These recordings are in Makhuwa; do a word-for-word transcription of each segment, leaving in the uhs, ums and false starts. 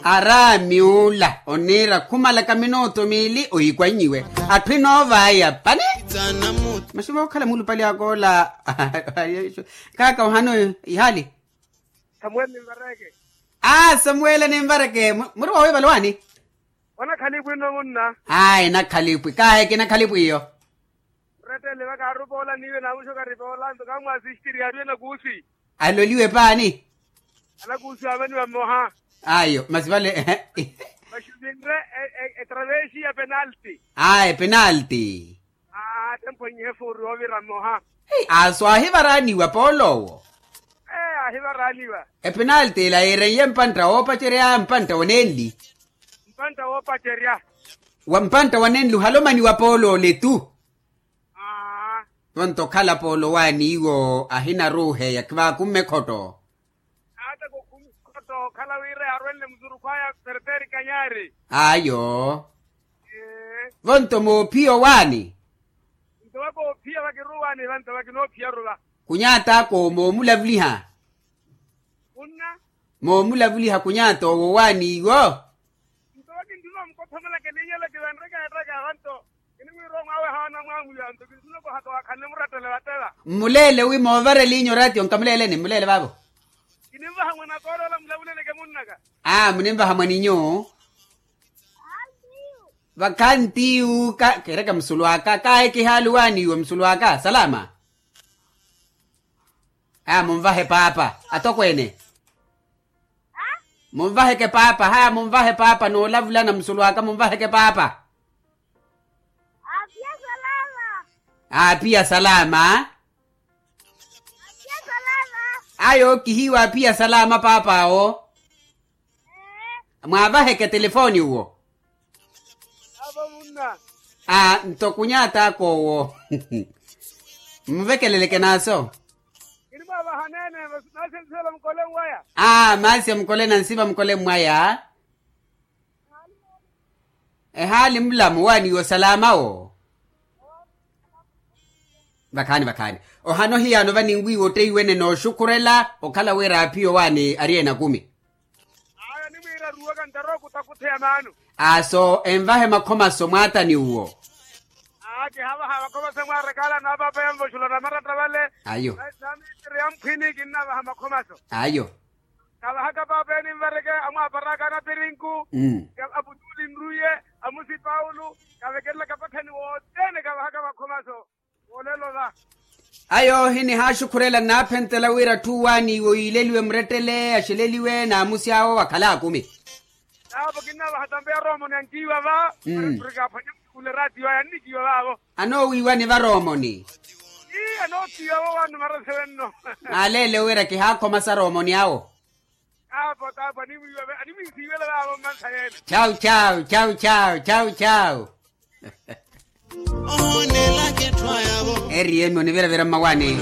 Araami ula oniira khumalaka minutu miili ohikwannyiwe. Atthu enoovaya pani. Masi vookhala mulupali akoola. Kaaka ohano ihaali. Samuweli nimvareke. Aa samuweli nimvareke muri wawiivala owaani. Onakhalipwi nno munna. Ayi nakhalipwi kaaheke nakhalipwi iyo. Mrettele vaka arupa ola niiwe naamuxoka aripa ola nto kaamwaasistiri aariwe nakuusi. Aloliwe paani. Anakuusi aamaniwa mmoha. Ayo masi vale. Maxuvinre. Etravexi ya penalti. Ayi penalti. Atemphwenyihe fuuri oovira mmoha. Aso aahivaraaniwa poolo owo. Aahivaraaniwa. Epenalti ela yiireiye mpantta woopacerya mpantta wa nenli. Mpantta woopacerya. Wa mpantta wa nenli ohalomaniwa poolo ole tu. Aa. Vonto okhala poolo owaani iwo ahinaruuheya kivaakumme khotto. Ata kokhumi khotto okhala wira yaarwenle musurukhu aya perteri kanyaari. Ayo. Vonto moophiya owaani. Nto vakoophiya vakiruwaani vanto vakinoophiyarula. Kunyaata ako moomulavuliha. Munna. Moomulavuliha kunyaata owo owaani iwo. Nto vakinttuna omukothomela kininyela kivanreka ettaka vanto. Kinimwiira omwaawe haana mwaamuyanto kinttuna kohaka wakhanle murattele vattela. Mmuleele wi moovareliinyu oraatiyo nkamuleeleni mmuleele vaavo. Kinimvaha mwanakoola ola mulavuleleke munnaka. Aa munimvaha mwaninyu. Vakhantiyu ka kiireke musulu aka kaaheke ihaali owaani iwe musulu aka salama. Haya munvahe paapa atokweene. Munvaheke paapa haya munvahe paapa noolavulana musulu aka munvaheke paapa. Aapiya salama. Aapiya salama. Aya okihiiwa aapiya salama paap'awo. Mwaavaheke telefoni uwo. Aa nto kunyata akoowo. Mmuvekeleleke naaso. Aa maasi amukole mwaya. Ehaali mulamu waaniiwo salamawo. Vakhaani vakhaani. Ohano hiyaano vaninwiiwa otteiwene nooxukhurela okhala wira aaphiya owaani ari enakumi. Ayo nimwiira ruwaka ntarookutakuthe ya maano. Aso envahe makhomaso mwaatani uwo. Aa kihaavaha makhomaso mwaarakaala naapaapeya nvoxula namaratta vale. Ayo. Naamiitiri ya mphwini kinnaavaha makhomaso. Ayo. Kavahaka paapa enimvareke amwaaparaka anapirinku. Aputuli nruye. Amusi paulo. Kavekerelaka pathani wothene kavahaka makhomaso. Ayo hinihaxukhurela nnaaphentela wira atthu waaniiwe oyiileliwe murettele axeleliwe naamusi awo wakhala akumi. Naapo kinnavaha tampe ya romoni ankiiwa va. Murikaaphwanya musukhule raatiyo aya annikiiwa vaavo. Anoowiiwani va romoni. Ii anookiiwa vo wannumara sewenno. Aaleele wira kihaakhomasa romoni awo. Chau chau chau chau chau chau. Eriye mi oniviravira mmawaani.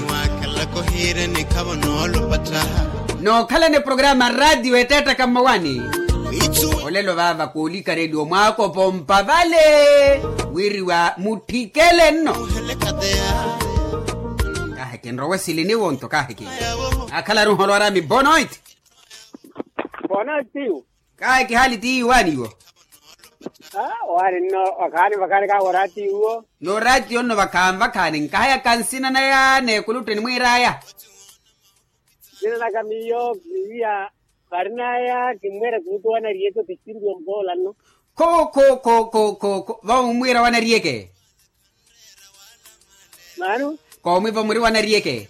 Nookhalani programa radio etettaka mmawaani. Olelo vaava koolikareliwa mwaakopo mpavale wiriwa mutthikele nno. Kaaheke nrowe silini wonto kaaheke. Akhala aruholo arami bonoit. Bonoit tiyu. Kaaheke haali tiyu waaniwo. Waani nno wakhaani vakhaani kaahora tiyu wo. Nooratiyo nno vakhaani vakhaani nkahayaka nsina naya n'ekulutteni mwiiraya. Nsina naka miyo miya varinaya kimmwera kuutu wanariyeke otittiriwa mukoola nno. Kho kho kho kho kho kho vamumwiira wanariyeke. Maano. Koomwivo muri wanariyeke.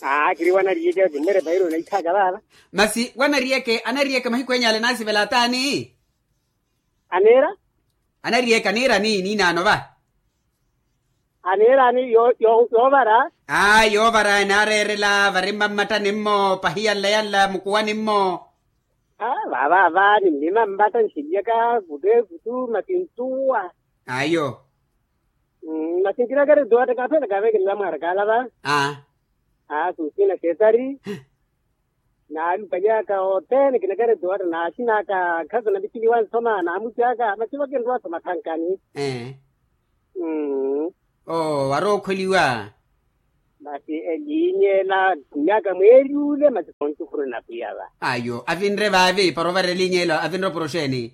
Aa kiri wanariyeke kimmwera epairo naitthaka vaava. Masi wanariyeke anariyeke mahiku enyale naasivela ataani. Aniira. Anariyeke aniirani niinaano va. Aniirani yoovara. Aa yoovara enaareerela vari mmammattani mmo pahi yanla yanla mukuwani mmo. Aa vaavaava nimmimammatta nxilyaka kutte kuttu makintuwa. Ayo. Masi nkinakari nto atta kaaphela kaavekelela mwaarakaala va. Aa. Aa sunsina xeetari. Naalupanyaka othene kinakari nto atta naaxinaka. Khaso napittiliwa nsoma naamusi aka masi vakinrwa soma thankani. Oo warookholiwa. Masi eliinya ela, khunyaka mweeri ule masi khontukhuruna pwiya va. Ayo avinre vaavi para ovara eliinya ela avinre oporoxeeni?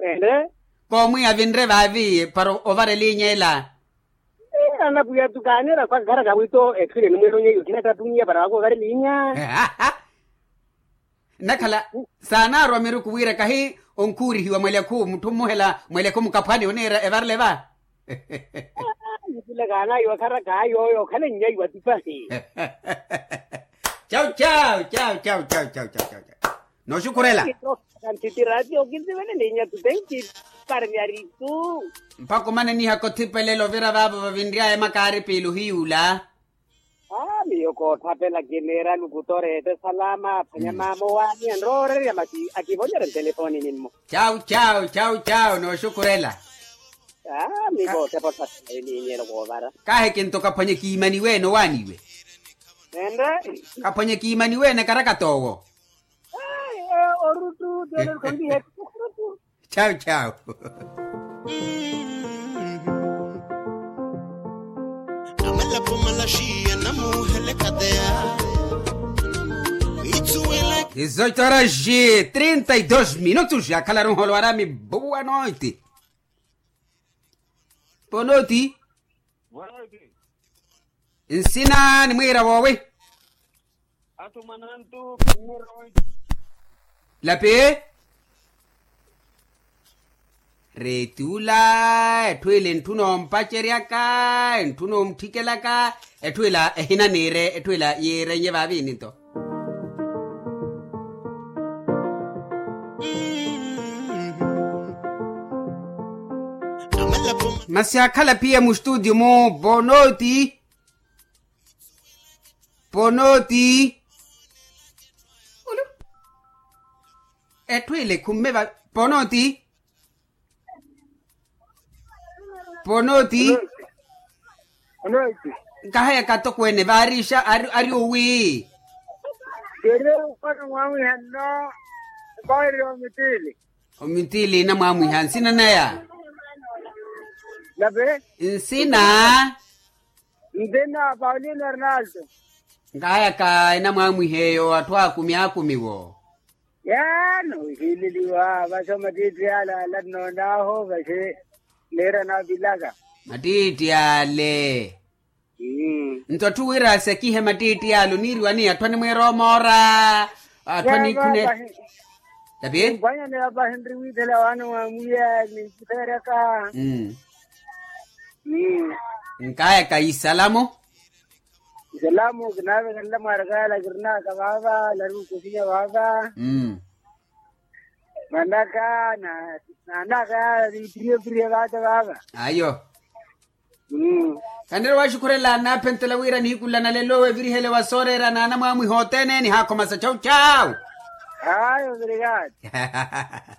Ene. Koomwiya avinre vaavi para ovara eliinya ela? Anapwiya tu kaaneera khwa kharaka wito etthu ene enimweeronye iyo khinattattunyiya para wakuva ovara eliinya. Nnakhala saanaarwa miruku wira kahi onkhuurihiwa mwelekhu mutthu mmuhela mwelekhu mukaphwani oniira evarele va. Mutulaka anaiwa kharaka ayo oyo okhalennyaiwa tipahi. Chau chau chau chau chau chau chau chau chau. Nooxukhurela. Kanthitira ati okinsivelele inyatu tenki parmyaritu. Mpakha omanenihaka othipelela ovira vaavo vavinry'aya makaari piili ohiyuula. Aa miyo koothapela kineera lukuto reete salama aphwanya maama owaani enroorerya masi akivonyerya ntelefoni nimmo. Chau chau chau chau nooxukhurela. Aa mi kootepa othapela eniinyelo koovara. Kahi kinto kaphwanye kiimaniwe ene owaaniwe. Ende. Kaphwanye kiimaniwe ene karakata owo. Orutu tiyolelo khondihe. Chau chau. Dezoito horas e trinta e dois minutos akhala runholo warami. Boa noite. Boa noite. Nsina nimwiira woowi? Atthu mwanantu. Lapi. Reeti ula etthu ila entthuna ompaceryaka, entthuna omuthikelaka. Etthu ila ehina niire etthu ila yiirenye vaavi ninto. Masi akhala pia mustutio mu bonoti. Ponoti. Etthu ile khumme va ponoti. Ponoti. Nkahaya katokweene vaarixa ari owi. Keri ukona mwamwiha nno. Okohererya omitiili. Omitiili enamwamwiha nsina naya. Nsina. Nsina paulino arnaldo. Nkahayaka enamwamwiha eyo atthu akumi akumi wo. Yaani ohiileliwa vaxi omattiitti ale ala nnoon'ahu vaxi. Niira naapilaka. Mattiitti ale. Nto atthu wira asekihe mattiitti ale oniiriwani atthu animwiira omoora. Atthu anikhune. Tapi. Mpwanyaneya pahi nri wiithela waana wa mwiya ninkitheeryaka. Nkayaka isalamu. Isalamu kinaavekelela mwaaraka yala kirinaka vaava lari okosinya vaava. Manaka na naanaka yala niipiriye piriye vaata vaava. Ayo. Kanira waxukhurela anaaphentela wira nihiku nla nalelo evirihele wa sooreera naana mwaamwiha othene nihakhomasa chau chau. Ayo ovirikati.